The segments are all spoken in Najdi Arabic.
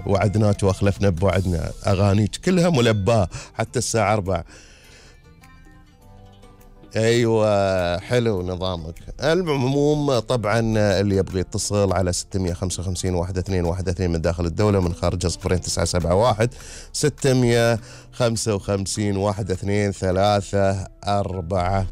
وعدناك واخلفنا بوعدنا، اغانيك كلها ملباه حتى الساعه 4. ايوه حلو نظامك. المعموم طبعا اللي يبغي يتصل على 655 1212 من داخل الدوله، من خارجها 0971 655 1234.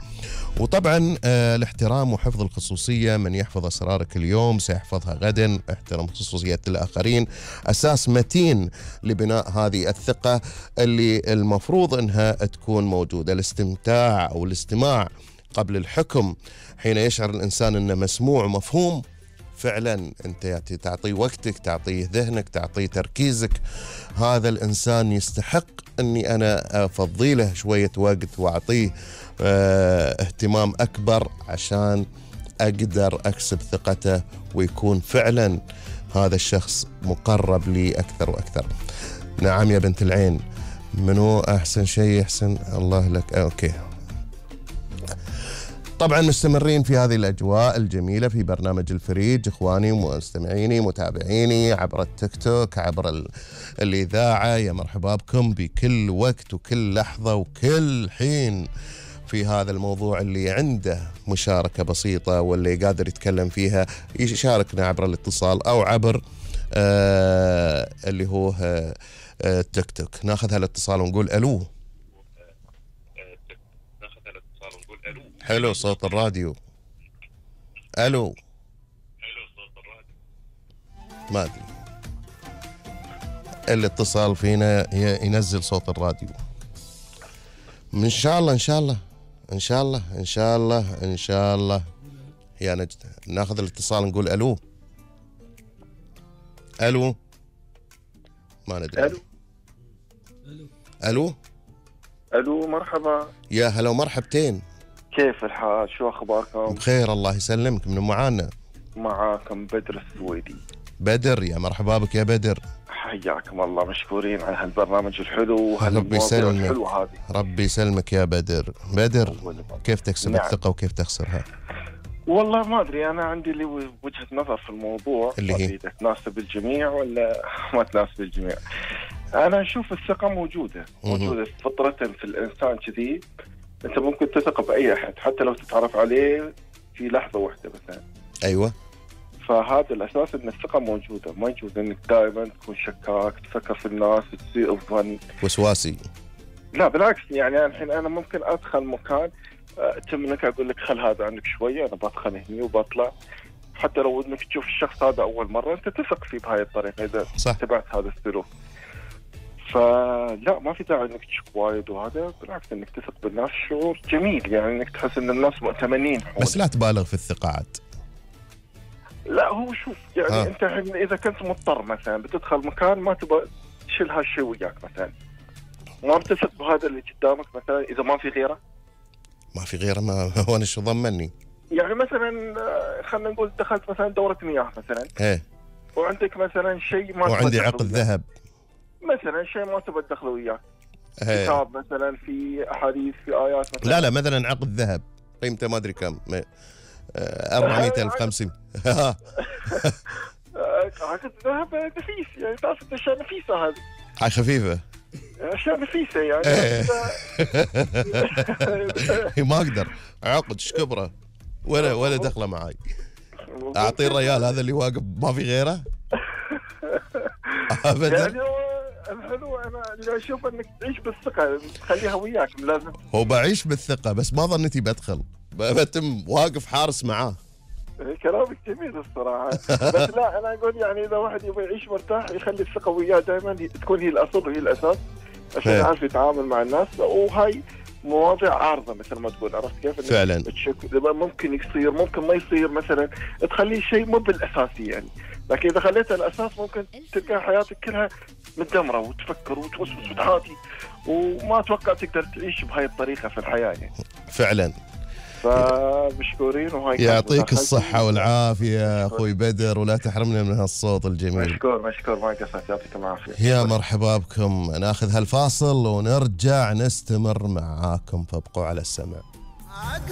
وطبعا الاحترام وحفظ الخصوصية، من يحفظ أسرارك اليوم سيحفظها غدا. احترم خصوصية الآخرين، أساس متين لبناء هذه الثقة اللي المفروض أنها تكون موجودة. الاستمتاع أو الاستماع قبل الحكم، حين يشعر الإنسان أنه مسموع ومفهوم فعلا أنت تعطيه وقتك، تعطيه ذهنك، تعطيه تركيزك. هذا الإنسان يستحق أني أنا أفضي له شوية وقت وأعطيه اهتمام أكبر عشان أقدر أكسب ثقته، ويكون فعلا هذا الشخص مقرب لي أكثر وأكثر. نعم يا بنت العين، منو أحسن شيء؟ أحسن الله لك. أوكي، طبعا مستمرين في هذه الأجواء الجميلة في برنامج الفريج. إخواني ومستمعيني متابعيني عبر التيك توك، عبر الإذاعة، يا مرحبا بكم بكل وقت وكل لحظة وكل حين في هذا الموضوع. اللي عنده مشاركة بسيطة واللي قادر يتكلم فيها يشاركنا عبر الاتصال أو عبر اللي هو التيك توك. ناخذ هالاتصال ونقول ألو. حلو صوت الراديو. ألو. ما أدري، الاتصال فينا ينزل صوت الراديو. إن شاء الله إن شاء الله إن شاء الله إن شاء الله إن شاء الله يا نجد. ناخذ الاتصال نقول ألو. ألو. ما ندري. ألو. ألو. ألو مرحبا. يا هلا ومرحبتين. كيف الحال؟ شو أخباركم؟ بخير الله يسلمك. من معانا؟ معاكم بدر السويدي. بدر، يا مرحبا بك يا بدر. حياكم الله، مشكورين على هالبرنامج الحلو وهالمواضيع الحلوة هذه. ربي يسلمك يا بدر. بدر، كيف تكسب الثقة وكيف تخسرها؟ والله ما أدري، أنا عندي لي وجهة نظر في الموضوع اللي هي إذا تناسب الجميع ولا ما تناسب الجميع. أنا أشوف الثقة موجودة فطرة في الإنسان كذي. أنت ممكن تثق بأي أحد حتى لو تتعرف عليه في لحظة واحدة مثلا. أيوة. فهذا الأساس أن الثقة موجودة، ما يجوز أنك دائما تكون شكاك، تفكر في الناس، تصير ظن وسواسي. لا بالعكس، يعني الحين أنا ممكن أدخل مكان تمنك أقول لك خل هذا عنك شوية، أنا بدخل هني وبطلع، حتى لو أنك تشوف الشخص هذا أول مرة أنت تثق فيه بهاي الطريقة إذا اتبعت هذا السلوك. فلا ما في داعي انك تشك وايد، وهذا بالعكس انك تثق بالناس شعور جميل، يعني انك تحس ان الناس مؤتمنين حولك. بس لا تبالغ في الثقة عاد. لا هو شوف يعني انت اذا كنت مضطر مثلا بتدخل مكان ما تبغى تشيل هالشيء وياك مثلا، ما بتثق بهذا اللي قدامك مثلا اذا ما في غيره. ما في غيره، ما هو انا شو ضمني؟ يعني مثلا خلينا نقول دخلت مثلا دورة مياه مثلا، ايه، وعندك مثلا شيء ما وعندي عقد ذهب مثلا، شيء ما تبغى تدخله وياك، كتاب مثلا في احاديث في ايات مثلا. لا مثلا عقد ذهب قيمته ما ادري كم، 400,000 50. عقد ذهب نفيس، يعني تعرف اشياء نفيسه هذه. هاي خفيفه، اشياء نفيسه يعني. ما اقدر عقد شكبره ولا دخله معاي. اعطيه الريال هذا اللي واقف ما في غيره ابدا. يعني الحلو انا اللي اشوف انك تعيش بالثقه، تخليها وياك لازم. هو بعيش بالثقه، بس ما ظنيتي بدخل بتم واقف حارس معاه. كلامك جميل الصراحه. بس لا انا اقول يعني اذا واحد يبغى يعيش مرتاح يخلي الثقه وياه دائما تكون هي الاصل وهي الاساس عشان يعرف يتعامل مع الناس. وهاي مواضيع عارضه مثل ما تقول، عرفت كيف؟ فعلا ممكن يصير ممكن ما يصير، مثلا تخليه شيء مو بالاساسي يعني، لكن اذا خليته الاساس ممكن تلقى حياتك كلها متدمره وتفكر وتوسوس وتحاتي وما اتوقع تقدر تعيش بهاي الطريقه في الحياه يعني. فعلا. فمشكورين، وهاي يعطيك الصحة والعافية أخوي بدر، ولا تحرمنا من هالصوت الجميل. مشكور ما قصرت، يعطيكم العافية. يا مرحبا بكم. ناخذ هالفاصل ونرجع نستمر معاكم، فابقوا على السمع.